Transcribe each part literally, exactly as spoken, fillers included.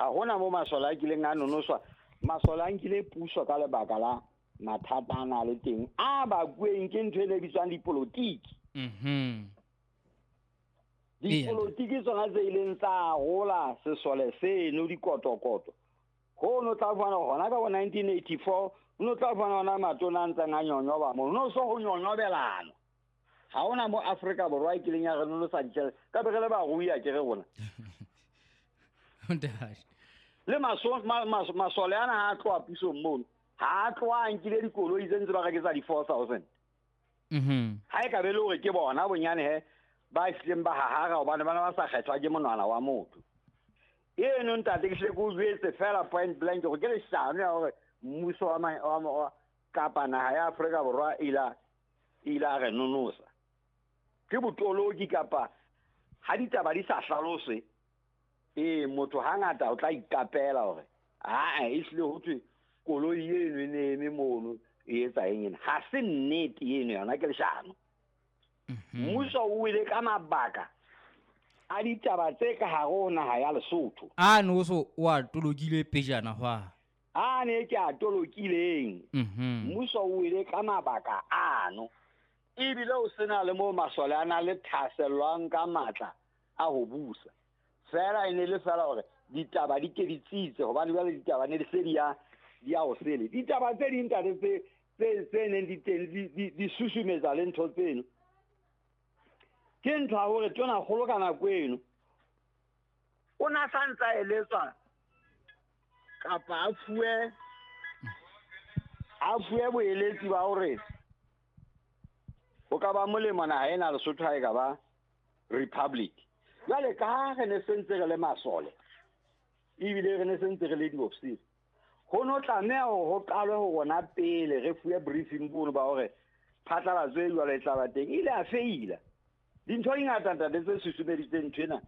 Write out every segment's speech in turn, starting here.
Ha hona mo masole a kileng a nonoswa. Masole a nkile puso ka lebaka la mathata a na le teng a bakueng ke ntho e ne bitswang dipolotiki. Mhm. Dipolotiki tsona tse ileng tsa rola sesole seno dikotokoto. Ho no tla fana hona ka bo nineteen eighty-four, no tla fana hona matona a ntseng a nyonyoba mono. No so ho nyonyobelana. Ha hona mo Afrika Borwa e kileng ya re nonosa ditjhelete. Ka be re le barui a ke re rona. Ntate. Le maso-, ma-, mas-, masole ana ha a tloha pusong mono, ha a tloha a nkile dikoloi tse ntse ba rekisa di four thousand. Mhm. Ha e ka be le hore ke bona bonyane he ba hlileng ba hahara hobane bana ba sa kgethwa ke monwana wa motho. Eno ntate ke hle ke o jwetse fela point blank hore ke leshano ya hore mmuso wa ma-, wa ma-, wa kapa naha ya Afrika Borwa e ila, e ila re nonosa. Ke botoloki kapa ha ditaba di sa hlaloswe, ee, motho hangata o tla ikapela hore aa, e hlile ho thwe koloi eno e ne eme mono e etsa eng ena. Ha se nnete eno, yona ke leshano. Mhm. Mmuso o wele ka mabaka a ditaba tse ka hare ho naha ya Lesotho. A no so o a tolokile pejana hwa. A ne ke a tolokileng. Mhm. Mmuso o wele ka mabaka ano. Ebile o sena le mo masole a na le thasellwang ka matla a ho busa. Fela e ne le fela hore ditaba di ke di tsitse hobane jwale ditaba ne di se di ya, di ya ho sele. Ditaba tse ding ntate tse, tse, tse neng di teng di, di, di susumetsa le ntho tseno. Ke ntho ya hore tona kgolo ka nako eno o na sa ntsa eletswa kapa a fuwe, a fuwe boeletsi ba hore ho ka ba molemo naha ena Lesotho ha e ka ba republic. Jwale ka ha re ne se ntse re le masole ebile re ne se ntse re le diofisiri, ho no tlameha hore ho qalwe ho rona pele re fuwe briefing bono ba hore phatlalatso e jwalo e tla ba teng. E ile a feila. Dintho di ngata ntate tse susumeditseng ntho ena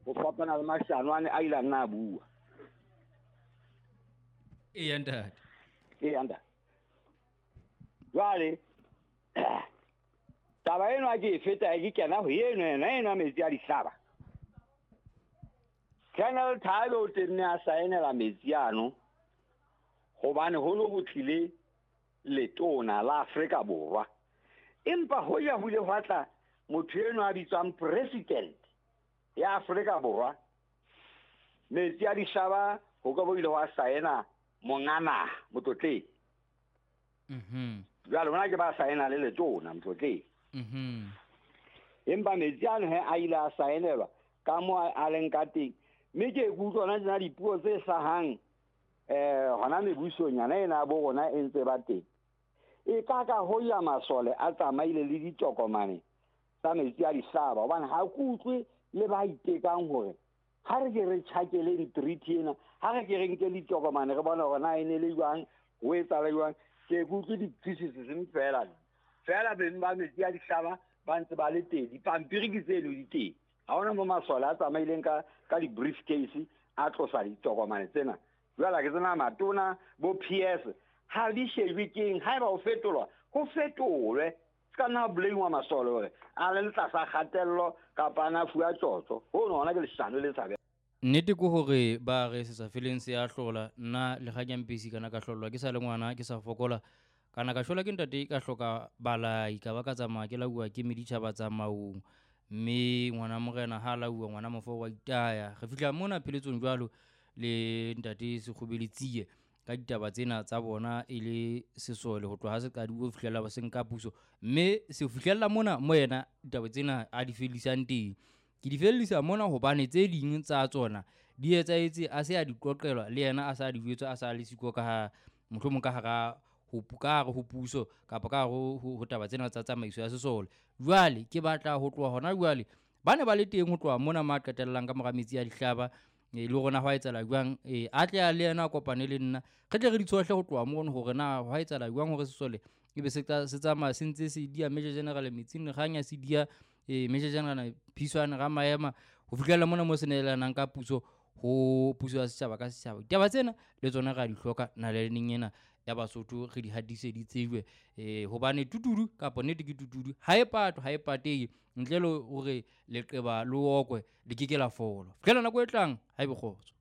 ho fapana le mashano ane a ile a nna a bua. Eya ntate. Eya ntate. Jwale taba eno ha ke e feta ke kena ho eno ena eno ya metsi a dihlaba. Colonel Thabe o tenne a saenela metsi ano hobane ho no ho tlile letona la Afrika Borwa. Empa ho ya ho ile hwa tla motho eno a bitswang president ya Afrika Borwa. Metsi a dihlaba ho ka bo ile hwa saena monga naha motlotleng. Mhm. Jwale hona ke ba saena le letona motlotleng. Mhm. Empa metsi ano he a ile a saenelwa ka mo a leng ka teng. Mme ke ikutlwa hona tjena dipuo tse hlahang, eh, hona mebusong yana ena ya bo rona e ntse ba teng. E ka ka ho ya masole a tsamaile le ditokomane tsa metsi a dihlaba, hobane ha ke utlwe le ba itekang hore ha re ke re tjhakeleng treaty ena, ha re ke re nke ditokomane re bone hore na e ne le jwang, ho etsahala jwang. Ke utlwe di-criticism fela. Fela beng ba metsi a dihlaba ba ntse ba le teng, dipampiri ke tseno di teng. Ha hona mo masole a tsamaileng ka, ka di-briefcase a tlosa ditokomane tsena. Jwale ke tsena matona bo P S ha di shejwe keng, haeba ho fetolwa ho fetolwe. Se ka nna blame-wa masole hore a le tlasa kgatello kapa a na fuwa tjotjo. Hono hona ke leshano le tshabehang. Nnete ke hore ba re se sa feleng se a hlola. Nna le ga ke mpesi kana ka hlolwa ke sa le ngwana, ke sa fokola. Kana ka shwelwa ke ntate, ka hloka balai, ka ba ka tsamaya ke lauwa ke meditjhaba tsa maung. Mme ngwana morena ha lauwa, ngwana mofo wa itaya. Re fihla mona pheletsong jwalo le ntate Sekgobele Tsie ka ditaba tsena tsa bona e le sesole ho tloha ha se qadile ho fihlela ba se nka puso. Mme se fihlella mona mo yena ditaba tsena a di fellisang teng. Ke di fellisa mona hobane tse ding tsa tsona di etsahetse a se a di qoqelwa le yena a sa di jwetswa, a sa le siko ka ha mohlomong ka hara ho pu-, ka hare ho puso kapa ka hare ho, ho, ho taba tsena tsa tsamaiso ya sesole. Jwale ke batla ho tloha hona jwale ba ne ba le teng ho tloha mona ma qetellang ka mora metsi a dihlaba. E, le rona hwa etsahala jwang? E, a tle a le yena a kopane le nna. Re tle re di tshohle ho tloha mono hore na hwa etsahala jwang hore sesole ebe se tla, se tsamaya se ntse se dia Major General metsing, Kganya se dia, e, Major General Phiswane Ramaema ho fihlela mona mo se nehelanang ka puso ho puso ya setjhaba ka setjhaba. Ditaba tsena le tsona re a di hloka naleng ena ya Basotho, re di hatise di tsejwe, eh, hobane tutudu kapa nnete ke tutudu ha e patwe, ha e patehe ntle le hore leqeba le okwe le ke ke la fola. Fihlela nako e tlang, ha ebe kgotso.